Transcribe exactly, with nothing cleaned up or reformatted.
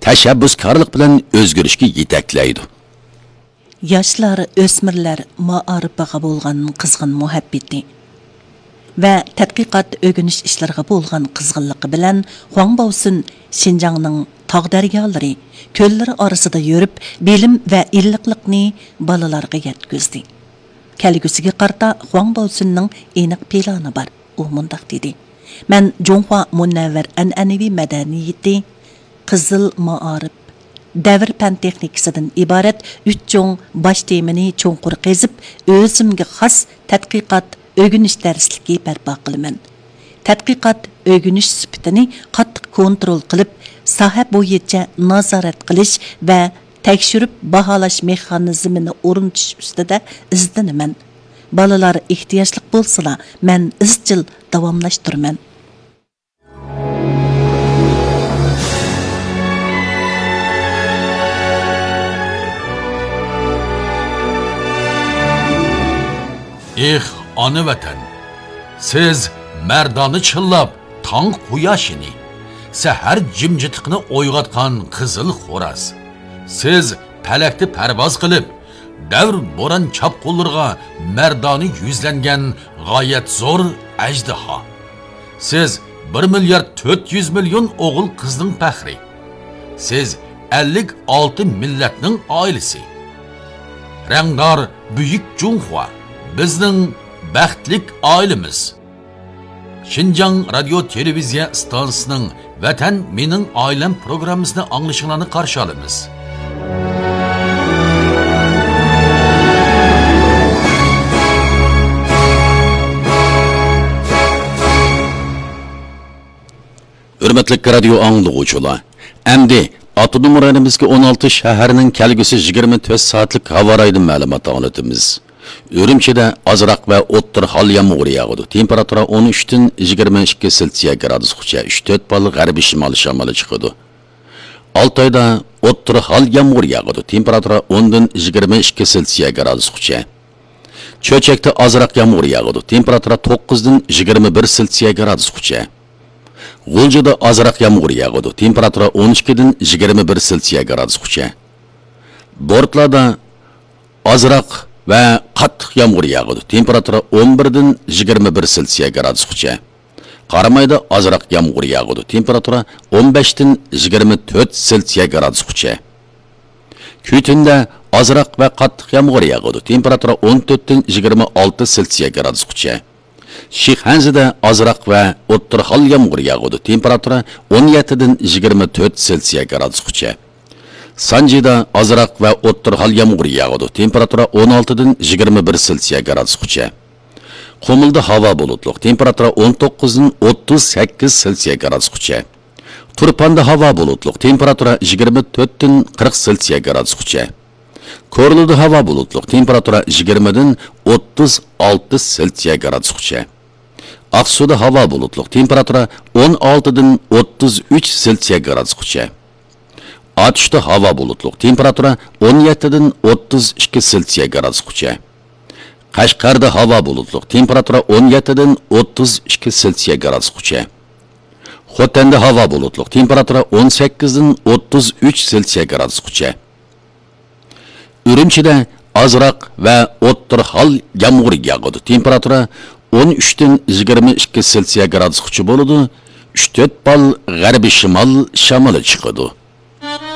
تەشەببۇسكارلىق بىلەن ئۆزگىرىشكە يېتەكلەيدۇ. ياشلار، ئۆسمۈرلەر مائارىپىغا بولغان قىزغىن مۇھەببىتى ۋە تەتقىقات، ئۆگىنىش ئىشلىرىغا بولغان قىزغىنلىقى بىلەن خۇاڭ باۋسۈن شىنجاڭنىڭ تاغ دەريالىرى، كۆللىرى ئارىسىدا يۈرۈپ، بىلىم ۋە ئىللىقلىقنى بالىلارغا يەتكۈزدى. كەلگۈسىگە قارىتا خۇاڭ باۋسۈننىڭ ئېنىق پىلانى بار. ئۇ مۇنداق دېدى: مەن جۇڭخۇا مۇنەۋۋەر ئەنئەنىۋى مەدەنىيىتى، قىزىل مائارىپ، دەۋر پەن تېخنىكىسىدىن ئىبارەت ئۈچ چوڭ باش تېمىنى چوڭقۇر قېزىپ، ئۆزۈمگە خاس تەتقىقات، ئۆگىنىش دەرسلىكى بەرپا قىلىمەن. تەتقىقات، ئۆگىنىش سۈپىتىنى قاتتىق كونترول قىلىپ، ساھە بويىچە نازارەت قىلىش ۋە تەكشۈرۈپ باھالاش مېخانىزمىنى ئورنىتىش ئۈستىدە ئىزدىنىمەن. بالىلار ئېھتىياجلىق بولسىلا، مەن ئىزچىل داۋاملاشتۇرىمەن. ئېھ، ئانا ۋەتەن! سىز مەردانە چىللاپ، تاڭ قۇياشىنى، سەھەر جىمجىتلىقىنى ئويغاتقان قىزىل خوراز. سىز پەلەكتە پەرۋاز قىلىپ، دەۋر بوران چاپقۇنلىرىغا مەردانە يۈزلەنگەن غايەت زور ئەجدىھا. سىز بىر مىليارد تۆت يۈز مىليون ئوغۇل قىزنىڭ پەخرى. سىز ئەللىك ئالتە مىللەتنىڭ ئائىلىسى. رەڭدار بۈيۈك جۇڭخۇا، بىزنىڭ بەختلىك ئائىلىمىز. شىنجاڭ رادىيو تېلېۋىزىيە ئىستانسىسىنىڭ ۋەتەن مېنىڭ ئائىلەم پروگراممىسىنى ئاڭلىشىڭلارنى قارشى ئالىمىز. ھۆرمەتلىك رادىيو ئاڭلىغۇچىلار، ئەمدى ئاپتونوم رايونىمىزدىكى ئون ئالتە شەھەرنىڭ كەلگۈسى يىگىرمە تۆت سائەتلىك ھاۋا رايىدىن مەلۇمات ئاڭلىتىمىز. ئۈرۈمچىدە ئازراق ۋە ئوتتۇرا ھال يامغۇر ياغىدۇ. تېمپېراتۇرا ئون ئۈچتىن يىگىرمە ئىككى سېلسىيە گرادۇسقىچە، ئۈچ تۆت بال غەربىي شىمالىي شامىلى چىقىدۇ. ئالتايدا ئوتتۇرا ھال يامغۇر ياغىدۇ. تېمپېراتۇرا ئوندىن يىگىرمە ئىككى سېلسىيە گرادۇسقىچە. چۆچەكتە ئازراق يامغۇر ياغىدۇ. تېمپېراتۇرا توققۇزدىن يىگىرمە بىر سېلسىيە گرادۇسقىچە. غۇلجىدا ئازراق يامغۇر ياغىدۇ. تېمپېراتۇرا ئون ئىككىدىن يىگىرمە بىر سېلسىيە گرادۇسقىچە. بورتلادا ئازراق ۋە قاتتىق يامغۇر ياغىدۇ. تېمپېراتۇرا ئون بىردىن يىگىرمە بىر سېلسىيە گرادۇسقىچە. قارامايدا ئازراق يامغۇر ياغىدۇ. تېمپېراتۇرا ئون بەشتىن يىگىرمە تۆت سېلسىيە گرادۇسقىچە. كۈيتۈندە ئازراق ۋە قاتتىق يامغۇر ياغىدۇ. تېمپېراتۇرا ئون تۆتتىن يىگىرمە ئالتە سېلسىيە گرادۇسقىچە. شىخەنزىدە ئازراق ۋە ئوتتۇرا ھال يامغۇر ياغىدۇ. تېمپېراتۇرا ئون يەتتىدىن يىگىرمە تۆت سېلسىيە گرادۇسقىچە. سانجىدا ئازراق ۋە ئوتتۇرا ھال يامغۇر ياغىدۇ. تېمپېراتۇرا ئون ئالتىدىن يىگىرمە بىر سېلسىيە گرادۇسقىچە. قۇمۇلدا ھاۋا بۇلۇتلۇق. تېمپېراتۇرا ئون توققۇزدىن ئوتتۇز سەككىز سېلسىيە گرادۇسقىچە. تۇرپاندا ھاۋا بۇلۇتلۇق. تېمپېراتۇرا يىگىرمە تۆتتىن قىرىق سېلسىيە گرادۇسقىچە. كورلىدا ھاۋا بۇلۇتلۇق. تېمپېراتۇرا يىگىرمىدىن ئوتتۇز ئالتە سېلسىيە گرادۇسقىچە. ئاقسۇدا ھاۋا بۇلۇتلۇق. تېمپېراتۇرا ئون ئالتىدىن ئوتتۇز ئۈچ سېلسىيە گرادۇسقىچە. ئاتۇشتا ھاۋا بۇلۇتلۇق. تېمپېراتۇرا ئون يەتتىدىن ئوتتۇز ئىككى سېلسىيە گرادۇسقىچە. قەشقەردە ھاۋا بۇلۇتلۇق. تېمپېراتۇرا ئون يەتتىدىن ئوتتۇز ئىككى سېلسىيە گرادۇسقىچە. خوتەندە ھاۋا بۇلۇتلۇق. تېمپېراتۇرا ئون سەككىزدىن ئوتتۇز ئۈچ سېلسىيە گرادۇسقىچە. ئۈرۈمچىدە ئازراق ۋە ئوتتۇرا ھال يامغۇر ياغىدۇ. تېمپېراتۇرا ئون ئۈچتىن يىگىرمە ئىككى سېلسىيە گرادۇسقىچە بولىدۇ. ئۈچ تۆت بال غەربىي شىمال شامىلى چىقىدۇ.